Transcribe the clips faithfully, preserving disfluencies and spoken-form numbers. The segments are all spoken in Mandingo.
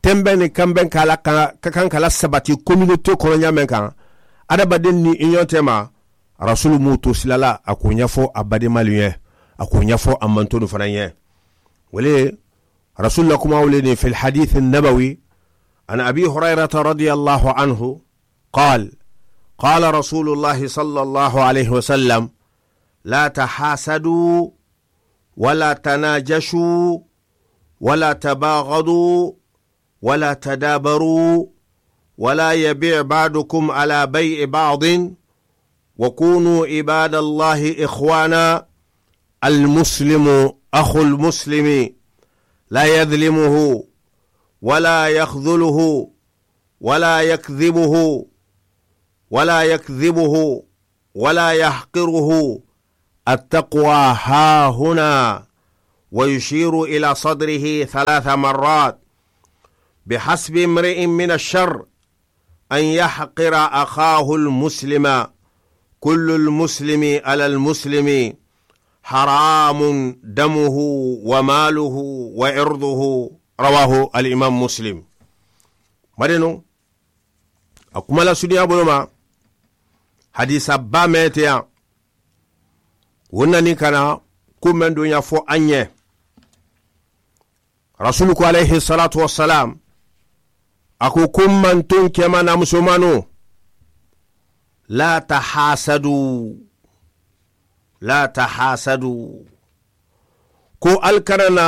tenbeŋ ni kanbeŋ ka a la ka ka kaŋ ka la sabati kominotee kono ñaameŋ kaŋ, hadamadenw ni i ñoŋ te ma. Rasuulu mu to sila la a ka wo ñafo a bademaalu ye, a ka wo ñafo a mantonu fanaa ye. Wo le ye rasuulu la kumaa wo le niŋ fi lhadiisi nnabawi, an abi hurayrata radiyallahu anhu, qaal, qaala rasuulu llahi sallallahu alayhi wa sallam, laa tahaasadu, wala tanajashu, wala tabaagadu, wala tadabaru, wala yabiic baadukum ala bayci baadin, wa kunu ibaada llahi ikhwaana. Almuslimu akhu lmuslimi, laa yadlimuhu, wala yakhdhuluhu, wala yakdhibuhu, wala yakdhibuhu, wala yahqiruhu. Attaqwa haahuna. Wa yushiru ila sadrihi thalatha marrat. Bihasbi imri'in min ashar an yahqira akhahu almuslima. Kullu almuslimi ala almuslimi haramun damuhu wa maaluhu wa irduhu. Rawahu alimam muslim. Mari nu a kuma la suniyaa bulu ma. Hadiisa baa mee te yaŋ. Wo nani ka na kuŋ meŋ duña fo a ñe. Rasuulu ko alayhi salaatu wasalaam, a ko kuŋ mantuŋ kema na musomanoo, laa tahaasadu, laa tahaasadu. Ko ali kana na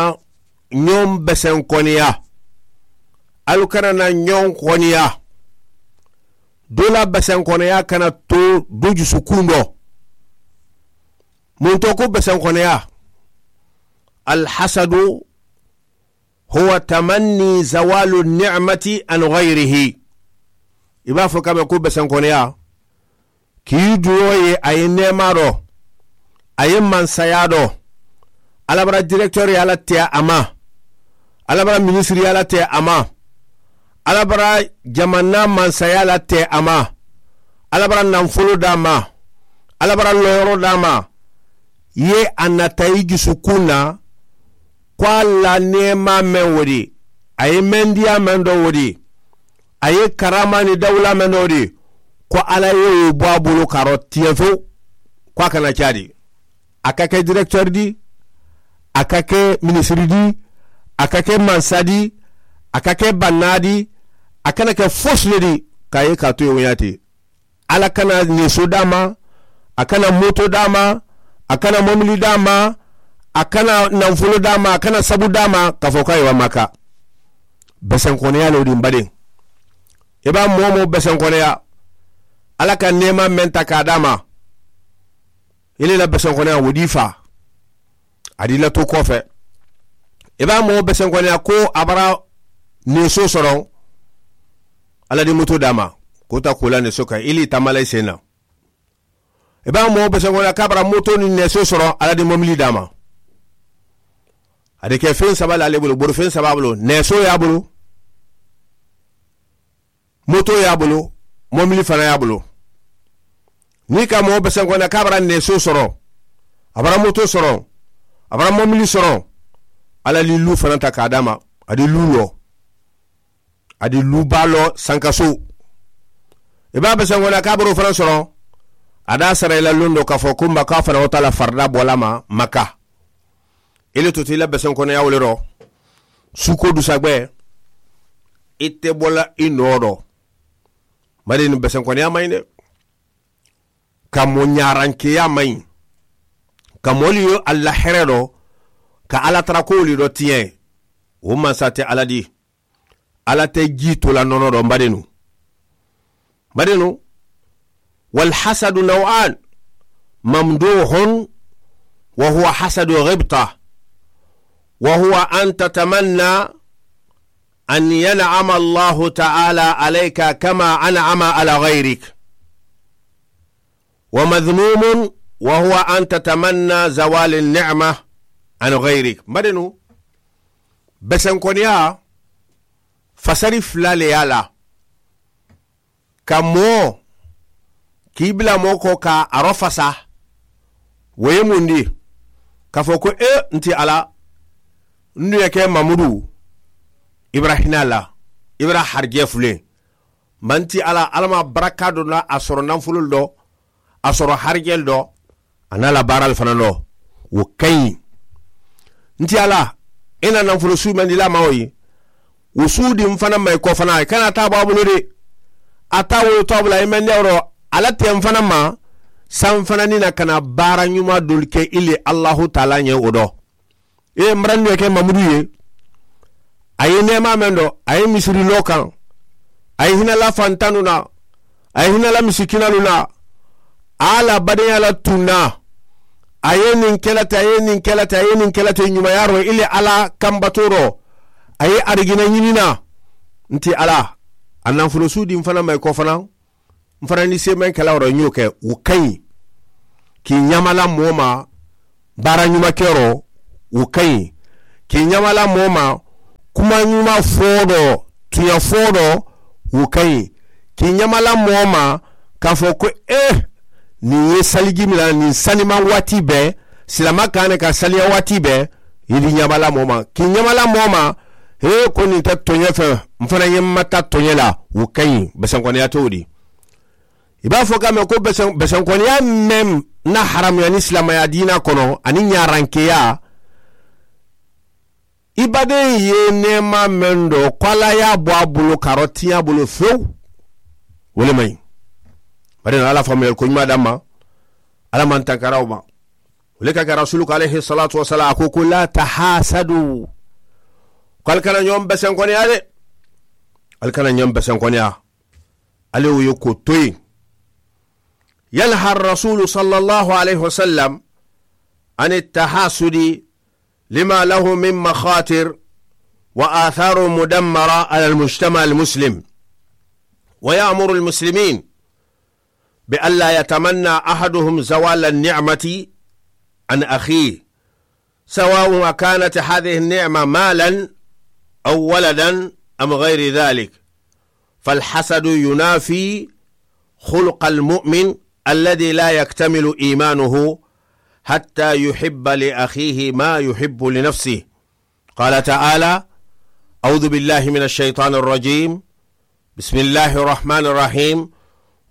ñoŋ beseŋ koneya. Ali kana na ñoŋ koneya. Doo la beseŋ koneya kana to dujusu kundo. Muŋ to ko beseŋ koneya? Alhasadu huwa tamanni zawaalu nicmati an gayrihi. I be a fo ka be ko beseŋ koneya, kii duroo ye a ye neemaa do, a ye mansayaa do. Alabara direkiteeri ye a la te a ma. Alabara minisiri ye a la te a ma. Alabara jamanaa mansayaa la te a ma. Alabara nanfoloo daa ma. Alabara loyoro daa ma. Ye a nata i jusukuŋ na ko a la neemaa meŋ wo di, a ye mendiyaa meŋ do wo di, a ye karaamaa niŋ dawulaa meŋ do wo di, ko alla ye wo bo a bulu ka ro tiyeŋ fewu. Ko a kana caadi, a ka ke direkiteeri di, a ka ke minisiri di, a ka ke mansa di, a ka ke bannaa di, a kana ke fosi le di ka a ye ka a tu ye wo ñaati. Alla kana neeso daa ma, a kana moto daa ma, a kana momili daa ma, a kana nanfolo daa ma, a kana sabu daa ma ka fo ko a ye wa maka. Besenkoneya le wo di mbadeŋ. I be a moo-wo-moo besenkoneya, alla ka neema meŋ ta ka a daa ma, i le la besenkoneya wo dii faa. A dii la to koo fe. I be a moo besenkoneya ko a bara neeso soroŋ, alla di moto daa ma, ko ta kuu la neeso kaŋ i le i tamaa la i seena. I be a moo besenkoneya ko a bara moto niŋ neeso soroŋ, alla di momili daa ma. A di ke feŋ saba le a le bulu, bori feŋ saba a bulu, neeso ye a bulu, moto ye a bulu, momili fanaa ye a bulu. Niŋ i ka moo besenkoneya ko a bara neeso soroŋ, a bara moto soroŋ, a bara momili soroŋ, alla di luu fanaa ta ka a daa ma. A di luu loo, a di luu baa loo sankaso. I be a besenkoneya ko a bara wo fanaa soroŋ, a daa sara i la londoo ka fo ko mba ko a fanaa wo taa la farida boolaa ma maka. I le tuta i la besenkoneya wo le ro. Suukoo dusa gbe, i te bo la i noo do. Mari niŋ besenkoneya maŋ ñi de. Ka moo ñaarankeeyaa maŋ ñi. Ka moolu ye alla here do, ka alla tara ko wolu do tiyeŋ. Wo mansa te alla di. Alla te jiitoo la nono do mbadeenu. Mbadeenu. Walhasadu naw'an, mamduhun, wa huwa hasadu ghibta, wa huwa an tatamanna an yan'ama allahu ta'ala alayka kama an'ama ala ghayrik. Wa madhmumun, wa huwa an tatamanna zawali ni'ma an ghayrik. Mbadeenu, besenkoneya fasari fula le ye a la. Ka moo, kii bila moo ko ka a ro fasa. Wo ye mundi? Ka fo ko e nti alla, ndu ye ke mamudu, ibrahima la. i bara harijee fulee. Ma n ti alla, alla ma baraka doo na a soro nanfulolu doo, a soro harijelu doo, a naa la baaralu fanaa doo. Wo ka ñi. N ti alla, i na nanfulo suu mendi la ma wo yi. Wo suu di n fanaa ma i ko fanaa i kana taa baa bulu de. A taa wolu taa bulu a yi mendi a woro. Alla te n fanaa ma san fanaa ni na kana baara ñuma doolu ke i le allahu taala ñe wo doo. I ye n barandi ye ke mamudu ye. A ye neemaa meŋ do a ye misiri loo kaŋ. A ye hina la fantanu na. A ye hina la misikinalu na. A la badeya la tunna. A ye niŋ ke la te a ye niŋ ke la te a ye niŋ ke la te ñumayaaroo i le alla kambatooroo. A ye arigina ñini na. Nti alla a nanfulo suudi n fana ma i ko fanaŋ. N fana ni seemeŋ ke la woro ñoo ke wo kayi. Kii ñamala moo ma baara ñuma keroo. Wo kayi. Kii ñamala moo ma kuma ñuma foo do tuña foo do. Wo kayi. Kii ñamala moo ma ka fo ko eh, niŋ ye salijimi la niŋ sanimaŋ waati bee silama kaane ka saliya waati bee. Ye di ñamala moo ma kii ñamala moo ma. Hee ko niŋ ta toñe feŋ n fana ye mata toñe la. Wo kayi besenkoniya te wo di. I be a fo ka me ko besenkoniya meŋ na haramuya ni silamaya diina kono aniŋ ñarankeya. I badeŋ ye neema meŋ do ko alla ye a bo a bulu ka ro tiña bulu few. Wo le maŋ yi. Bari na alla faamuyali ko ñuma damma. Alla maŋ tankara wo ma. Wo le ka ke rasulu ko alayhi salatu wasalaam a ko ko la tahasadu. Ko ali kana ñoŋ besenkoniya de. Ali kana ñoŋ besenkoniya. Ali wo ye ko toyi. Yanha rasulu sallallahu alayhi wasallam an tahasudi lima lahu min makhatir wa athar mudammara ala almujtama almuslim. Wa ya'muru almuslimin bi alla yatamanna ahaduhum zawala alni'mati an akhih. سواء أكانت هذه النعمة مالا أو ولدا أم غير ذلك. فالحسد ينافي خلق المؤمن الذي لا يكتمل إيمانه حتى يحب لأخيه ما يحب لنفسه. قال تعالى: أعوذ بالله من الشيطان الرجيم. بسم الله الرحمن الرحيم.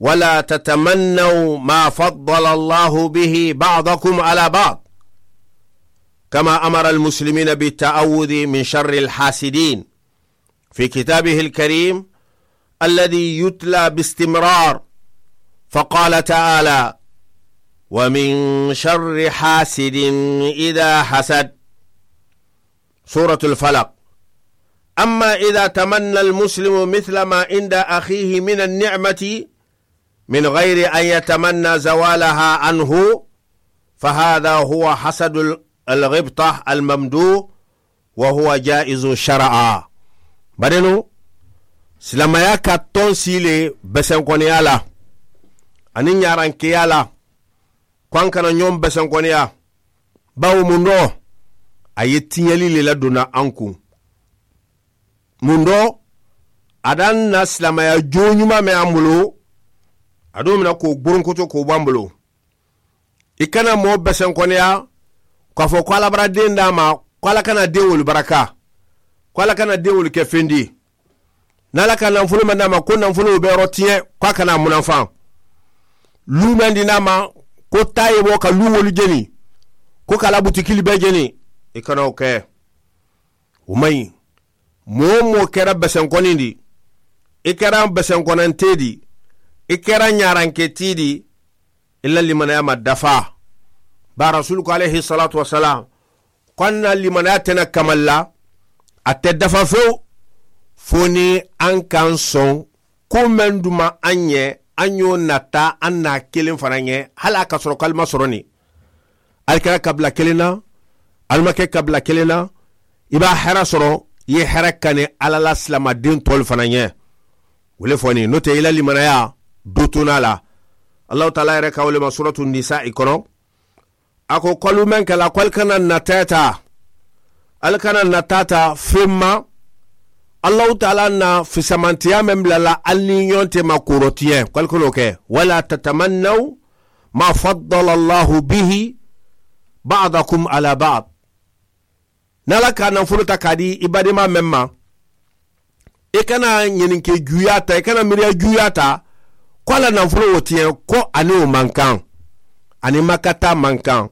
ولا تتمنوا ما فضل الله به بعضكم على بعض. كما أمر المسلمين بالتعوذ من شر الحاسدين في كتابه الكريم الذي يتلى باستمرار. فقال تعالى: ومن شر حاسد إذا حسد. سورة الفلق. أما إذا تمنى المسلم مثل ما عند أخيه من النعمة من غير أن يتمنى زوالها عنه فهذا هو حسد الغبطة الممدوح وهو جائز شرعا. Bari nu silamaya ka toŋ sii le besenkoniya la aniŋ ñarankeya la. Ko an kana ñoŋ besenkoniya. Bawo mundoo a ye tiñali le la duna an kuŋ. Mundoo a daŋ na silamaya jooñuma me an bulu. A duŋ mina ko gburunkutu ko ban bulu. I kana moo besenkoniya ka fo ko alabara deŋ daama ko ala kana deŋolu baraka ko ala kana deŋolu ke fendi. Niŋ a la ka nanfulu meŋ naa ma ko nanfulu be yoro tiñe ko a kana a munaŋ faŋ. Luu meŋ di naa ma ko taayiboo ka luuwolu jeni ko ka la butikili bee jeni. I kana wo ke. Wo maŋ yi. Moo wo moo kera besenkonin di, i kera besenkonantee di, i kera ñaranketii di. I la limanaya ma dafa. Baa rasulu ko alayhi salatu wasalam ko a na limanaya tena kamal la. A te dafa few fo ni an kan soŋ ko men duma an ye an yo nata an na kelen fana ye hala ka soro kalima soro ni. Alkara kabila kelen na. Almake kabila kelen na. I ba hera soro ye hera kane alala silama den tol fana ye. Wole fo ni no te i la limanaya dutuna la. Allahu taala yere ka wole ma suratu nisa i kono. A ko kolu meŋ ke la ko ali kana nataata. Ali kana nataata feŋ ma. Allahu taala na fisamantiya meŋ bila la ali ni ñoŋ te ma kuro tiye ko ali kana ke wala tatamannaw ma faddala allahu bihi ba'dakum ala ba'd. Niŋ ala ka nanfulu ta ka di i badima meŋ ma. I kana ɲininke juuyaa ta, i kana miiriya juuyaa ta, ko a la nafolo wo tiɲɛ, ko a ni wo man kaŋ, a ni makata man kaŋ,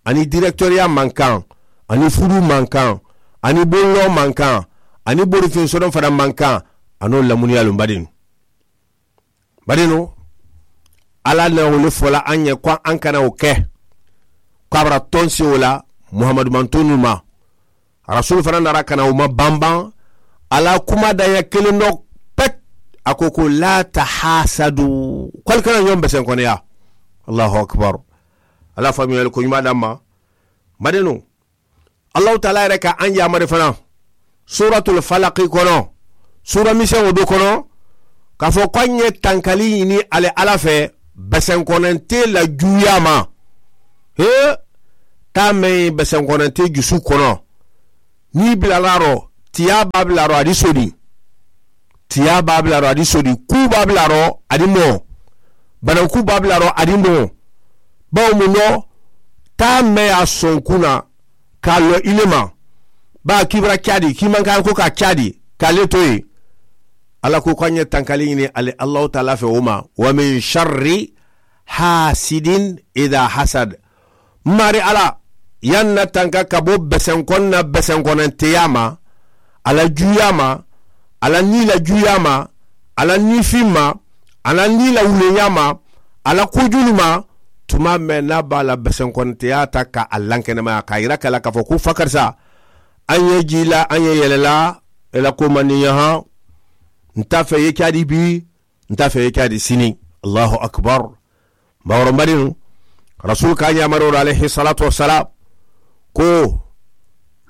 a ni direkiteeriya man kaŋ, a ni furu man kaŋ, a ni bolloo man kaŋ, a ni borifin sodoŋ fanaŋ man kaŋ, a ni wo lamuniyaalu. N badinu, n badinu, alla na wo le fo la aŋ ye ko aŋ kana wo ke, ko a bara tonsi wo la muhammadu mantonnu ma. Rasuulu fanaŋ nara kana wo ma banbaŋ, a la kuma daŋ ya kiliŋ do, pet. A ko ko laa tahaasadu, ko ali kana ñoŋ besenkoneya. Allahu akbar. Alla faamuyali ko ñumaa daŋ ma. N badinu, allahu taala yere ka aŋ yaamari fanaŋ, suuratul falaki kono, suura miseŋo do kono, ka fo ko aŋ ye tankali ñini ali alla fee, besenkonente la juuyaa ma. Hee, taa meŋ besenkonente jusu kono, niŋ i bilalaaru, tiyaa be a bilalaaru a di sodi. Tiyaa be a bilalaaru a di sodi, kuu be a bilalaaru a di moo, banankuu be a bilalaaru a di moo. Bawo muŋ do, taa meŋ ye a soŋ kuna, ka a loŋ i le ma, baa kibira caadi kiimankaŋ ko ka caadi, ka a le to ye. Alla ko ko a ñe tankali ñini ali allahu taala fe wo ma, wa min sharri haasidin ida hasad. Maari alla, yaŋ na tanka ka bo besenkoŋ na besenkonanteyaa ma, a la juuyaa ma, a la nii la juuyaa ma, a la niifiŋ ma, a la nii la wuleeyaa ma, a la kujulu ma, tumaa meŋ na baa la besenkonanteyaa ta ka a lankenemaya ka a yira ka la ka fo ko fakarisa, aŋ ye jii la aŋ ye yelelaa, i la koomandiŋ ñaha, nta fe ye caadi bii, nta fe ye caadi sini. Allahu akbar. Baworo mbarinu, rasuulu ka ñaamaroolu alayhi salatu wasalam, ko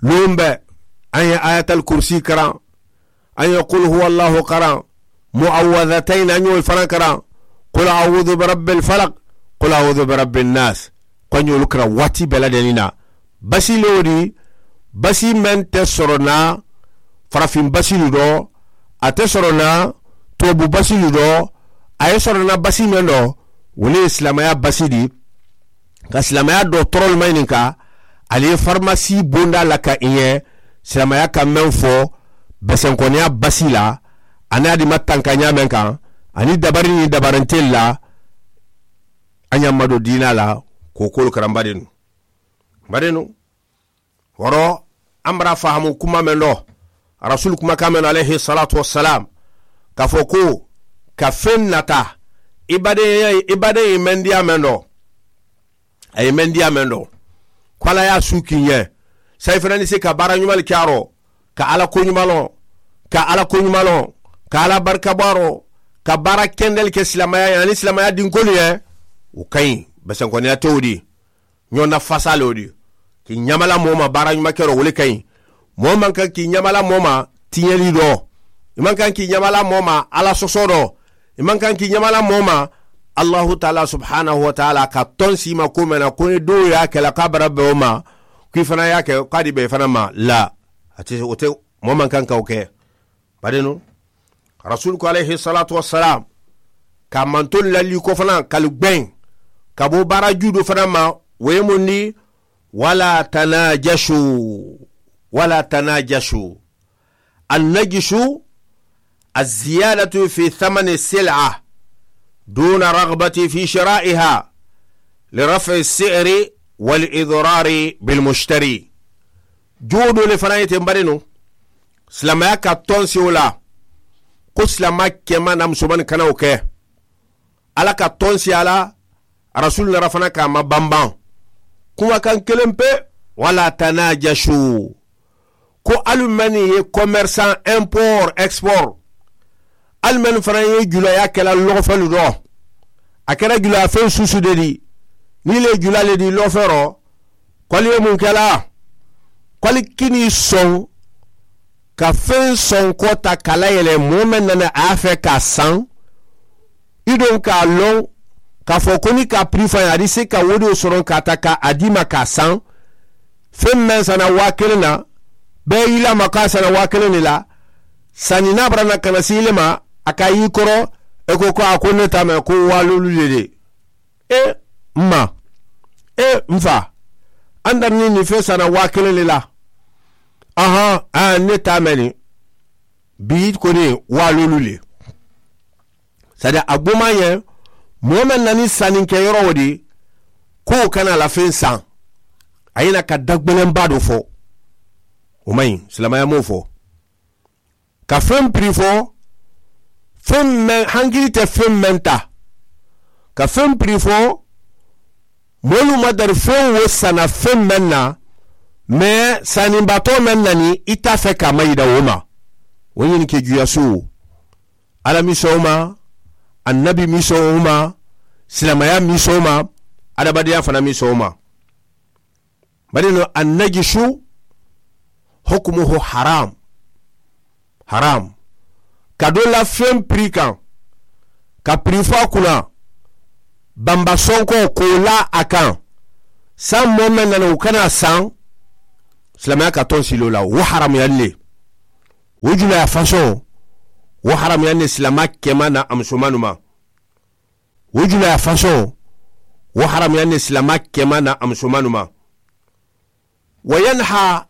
luŋ be, aŋ ye ayatal kursi karaŋ, aŋ ye kul huwa allahu karaŋ, mu'awwazatayni aŋ ye wolu fanaŋ karaŋ, kul a'uudu bi rabbil falak, kul a'uudu bi rabbin naas, ko aŋ ye wolu karaŋ waati bee la deniŋ na. Basi le wo di, basi meŋ te soroŋ na, farafin basilu do, a te soroŋ na, tubabu basilu do, a ye soroŋ na basi meŋ do, wo le ye silaamaya basi di. Ka silaamaya do torolu ma ñininka, ali ye farimasi bonda la ka i ye silaamaya ka meŋ fo, besenkoneya basi la, a ni a di ma tanka ñaameŋ kaŋ, aniŋ dabari niŋ dabarintelu la, a ñaŋ ma do diinaa la, kookoolu karambarinnu. Mbarinu, woro, ambara fahamu kuma meŋ do, rasuulu kuma ka meŋ do alayhi salatu wasalam, ka fo ko, ka feŋ nata, i badeŋ i badeŋ i mendiya meŋ do, a ye mendiya meŋ do, ko alla ye a suu kiŋ ye, sayi fanaŋ ni si ka baara ñumalu caaro, ka alla ko ñumaloŋ, ka alla ko ñumaloŋ, ka alla barika baaro, ka baara kendelu ke silaamaya ye aniŋ silaamaya dinkolu ye. Wo kayi, besenkoneya te wo di. Ñoo na fasaa le wo di, ki ñamala moo ma baara ñuma keroo wo le kayi. Moo maŋ kaŋ ki ñamala moo ma, tiñeli do, i maŋ kaŋ ki ñamala moo ma, alla sosoo do, i maŋ kaŋ ki ñamala moo ma, allahu taala subhanahu wataala ka tonsi i ma ko meŋ na ko ni doo ye a ke la ko a bara be wo ma, ko i fanaa ye a ke ko a di be i fanaa ma la. A te wo te, moo maŋ kaŋ ka wo ke. Bari nu, rasuulu ko alayhi salatu wasalam, ka a mantolu lalii ko fanaa ka lu gbeŋ, ka bo baara juudo fanaa ma, wo ye mundi? Wala tanajasu, wala tanajasu. Annajisu, aziyadatu fi thamani sil'a, duna ragbati fi shira'iha, li raf'i si'ri wal idrari bil mushtari. Juudo le fanaa ye te mbari nu. Silaamaya ka tonsi wo la, ko silaama kemaa na musomani kana wo ke. Alla ka tonsi a la, rasuulu nara fanaŋ ka a ma banbaŋ. Kumakaŋ keleŋ pe, wala tanajasu, ko ali mennu ye komersaŋ, import export, ali mennu fanaŋ ye julaayaa ke la loofelu do, a keta julaayaa feŋ suusu de di, niŋ i le ye julaa le di loofeero, ko ali ye muŋ ke la? Ko ali kinii soŋ ka feŋ sonkoo taa ka a layelema moo meŋ nana a ye a fee ka a saŋ, i duŋ ka a loŋ ka a fo ko niŋ i ka a pirii fo a ye a di se ka wo diyo soroŋ ka a taa ka a dii ma ka a saŋ. Feŋ meŋ sana waa kiliŋ na, bee i la ma ko a sana waa kiliŋ ne la. Sani niŋ a bara na kana si i le ma, a ka a yii koro, i ko ko a ko ne taa ma ko waa luulu le de. E, mma, e mfaa, a nda niŋ niŋ fee sana waa kiliŋ le la. Ahan, a ne taa meni. Bii koni waaloolu le sadi a gbumaa ñe moo meŋ na niŋ saniŋ ke yorowo di ko wo kana a la feŋ saŋ. A ye na ka dagbeleŋ baa do fo wo maŋ ñiŋ silamaya moo fo ka feŋ piri fo feŋ meŋ hankili te feŋ meŋ ta ka feŋ piri fo moolu ma dari feŋ wo sana feŋ meŋ na mee saniŋ batoo meŋ na niŋ i ta fe ka mayida wo ma. Wo ñiŋ ke juuyasuwo alla misoŋo ma annabi misoŋo ma silamaya misoŋo ma adamadiŋyaa fanaŋ misoŋo ma. Bari no annajisu hukumuhu haram. Haram ka do la feŋ piri kaŋ ka piri fo a kuna bamba sonko ko la a kaŋ saŋ moo meŋ nana wo kana saŋ silamaya ka toŋ siloo la wo haramuyaŋ ne. Wo julaa fasoŋ wo haramuyaŋ ne silama kema na a musomanu ma. Wo julaa fasoŋ wo haramuyaŋ ne silama kema na a musomanu ma. Wa yanha